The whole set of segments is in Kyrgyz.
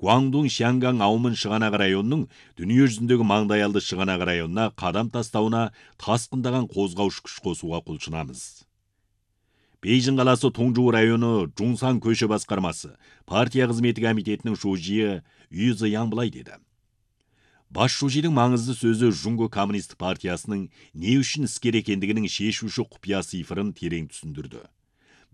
Гуандун Шянган Аумын Шыганак районунун дүнүйө жүзүндөгү маңдайалды Шыганак районуна кадам тастауына таскындаган козгоуш күч косууга кулчунабыз. Бейжин каласы Тоңжуу району Жунсан көшө баскармасы партия кызмети комитетинин шужийи Үй Зыян былай деди. Баш шужийдин маңызды сөзү Жунго коммунисттик партиясынын не үчүн искер экендигинин шешүүчү купуя цифрын терең түшүндүрдү.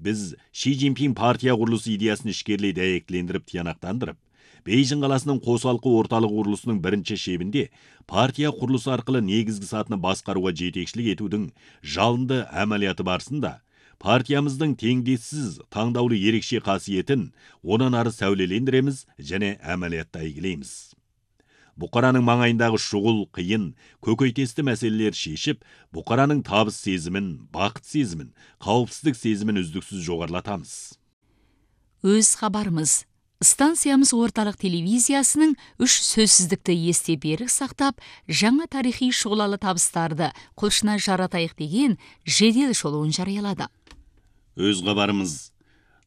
Биз Ши Цзиньпин партия курулушу идеясын ишкерлей дәйектилендирип тиянактандырып, Бейжин каласынын косалкы орталык курулусунун биринчи шебинде партия курулусу аркылуу негизги сатыны баскарууга жетекчилик этүүдүн жалынды амалияты барысында партиямыздын теңдессиз таңдаулуу ерекше касиетин онан ары сәулелендиремиз жана амалиятта ийгилеймиз. Букаранын маңайындагы шугул, кыйын, көкөйтесті мәселелер шешип, букаранын табыс сезимин, бакыт сезимин, каопсиздик сезимин үздүксүз жогорулатабыз. Өз кабарыбыз. Станциямыз орталык телевизиясынын 3 сөзсүздүктү эсте берик сактап, жаңа тарыхый шуулалы табыстарды кылышына жаратайык деген жедел шолуун жарыялады. Өз кабарыбыз.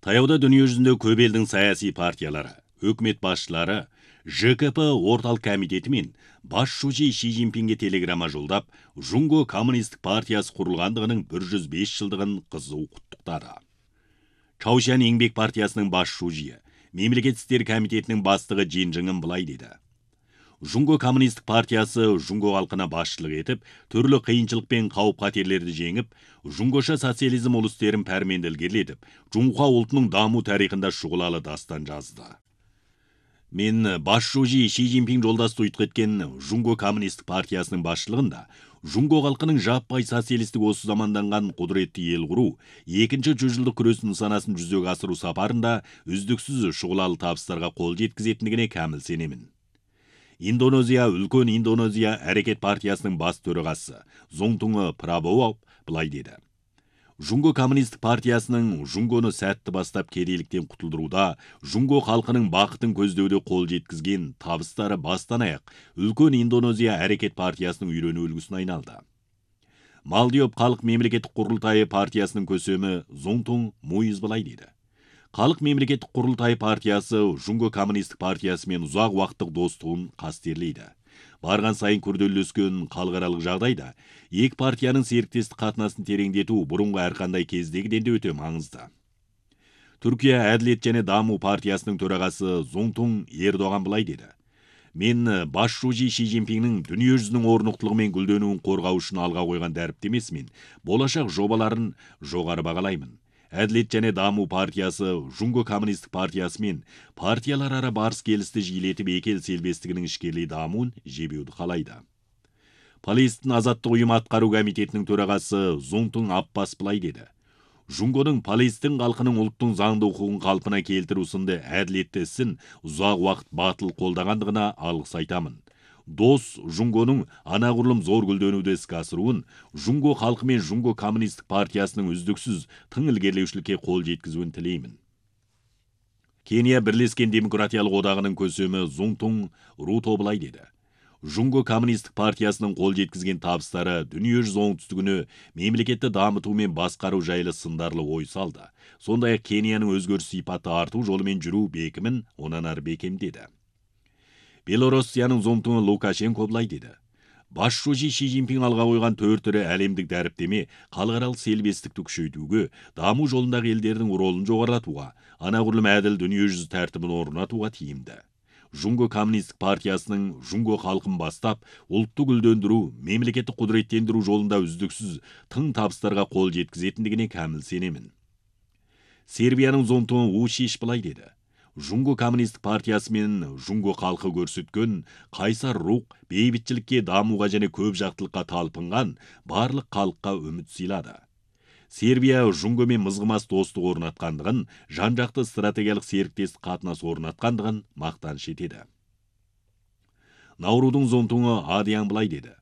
Таяуда дүнүйө жүзүндө көп элдин саясий партиялары, өкмөт башчылары, ЖКП орталык комитети мен баш шужий Ши Цзиньпинге телеграмма жолдап, Жунго коммунисттик партиясы курулгандыгынын 105 жылдыгын кызуу куттуктады. Чаушан Эңбек партиясынын баш шужийи, мемлекеттик иштер комитетинин бастыгы Жин Жыңын былай деди. Жунго коммунисттик партиясы Жунго калкына башчылык этип, түрлүү кыйынчылык пен кауп-катерлерди жеңип, Жунгоша социализм улустерин пәрменди илгерилетип, Жунхуа улутунун дамуу тарыхында шугулалы дастан жазды. Мен баш шужий Ши Цзиньпин жолдашты уйт кеткен Жунго коммунисттик партиясынын башчылыгында Жунго калкынын жаппай социалисттик осу заманданган кудуретти эл куруу, экинчи жүз жылдык күрөстүн нысанасын жүзөгө асыруу сапарында үздүксүз шугулалы табыстарга кол жеткизетиндигине камил сенемин. Индонезия, Үлкөн Индонезия аракет партиясынын бас төрагасы Зоңтуң Прабово былай деди. Жунго коммунисттик партиясынын Жунгону сәтті бастап кедейликтен кутулдурууда, Жунго калкынын бакытын көздөөдө кол жеткизген табыстары бастан аяк Үлкөн Индонезия аракет партиясынын үйрөнүү үлгүсүнө айналды. Малдиоп калк мемлекеттик курултайы партиясынын көсөмү Зоңтуң Муиз былай деди. Калк мемлекеттик курултай партиясы Жунго коммунисттик партиясы менен узак убакыттык достугун кастерлейди. Барган сайын күрдөлөскөн калкаралык жагдайда эки партиянын сериктестик катнасын тереңдетүү бурунку ар кандай кездегиден да өтө маңызды. Түркия Адилет жана Дамуу партиясынын төрагасы Зоңтуң Эрдоган былай деди. Мен баш шужий Ши Цзиньпиндин дүнүйө жүзүнүн орнуктулугу менен гүлдөнүүнүн коргоо үчүн алга койгон дарптемесин, болашак жобаларын жогары багалаймын. Адилет жана Дамуу партиясы Жунго коммунисттик партиясы менен партиялар ара барс келисти жийлетип эки эл селбестигинин ишкерлей дамуун жебүүнү каалайды. Палестин азаттык уюму аткаруу комитетинин төрагасы Зоңтуң Аппас былай деди. Жунгонун Палестин калкынын улуттун заңдуу укугун калпына келтирүү сынды адилеттүү исин узак убакыт батыл колдогандыгына алгыс айтамын. Дос Жунгонун анагурлум зор гүлдөнүүдө иске асыруун, Жунго калкы менен Жунго коммунисттик партиясынын үздүксүз тың илгерилеушүлүккө кол жеткизүүнү тилеймин. Кения Бирлешкен Демократиялык одагынын көсөмү Зоңтуң Руто былай деди. Жунго коммунисттик партиясынын кол жеткизген табыстары дүнүйө жүзү оңтүстүгүнө мемлекетти дамытуу менен баскаруу жайлы сындарлуу ой салды. Сондай эле Кениянын өзгөрүш сыйпаты артуу жолу менен жүрүү бекимин онан ары бекемдеди. Белоруссиянын Зоңтуңу Лукашенко былай деди. Баш шужий Ши Цзиньпин алга койгон 4 төрө әлемдик дарптеме калкаралык селбестикти күчөйтүүгө, дамуу жолундагы элдердин ролун жогорулатууга, анагурлум адил дүнүйө жүзү тартибин орнатууга тийимди. Жунго коммунисттик партиясынын Жунго калкын бастап, улутту гүлдөндүрүү, мемлекеттик кудуреттендирүү жолунда үздүксүз тың табыстарга кол жеткизетиндигине камил сенемин. Сербиянын Зоңтуңу Ушиш былай деди. Жунго коммунисттик партиясы менен Жунго калкы көрсөткөн кайсар рух бейбитчиликке, дамууга жана көп жактылыкка талпынган барлык калкка үмүт сыйлады. Сербия Жунго менен мызгымас достук орнаткандыгын, жан жакты стратегиялык сериктестик катнаш орнаткандыгын мактаныш этеди. Наурудун Зоңтуңу Адиян былай деди.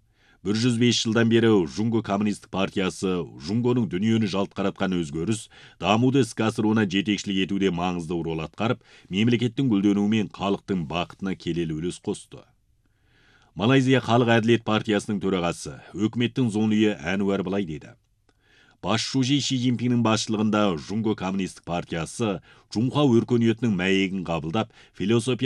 105 жылдан бери Жунго коммунисттик партиясы Жунгонун дүнүйөнү жалт караткан өзгөрүс, дамууду иске асырууна жетекчилик этүүдө маңыздуу рол аткарып, мемлекеттин гүлдөнүүү менен калктын бакытына келелүү үлөс косту. Малайзия Калк Адилет партиясынын төрагасы, өкмөттүн зонуйу Анвар былай деди. Баш шужий Ши Цзиньпиндин башчылыгында Жунго коммунисттик партиясы Жунхуа өркөнүөтүнүн маегин кабылдап, философия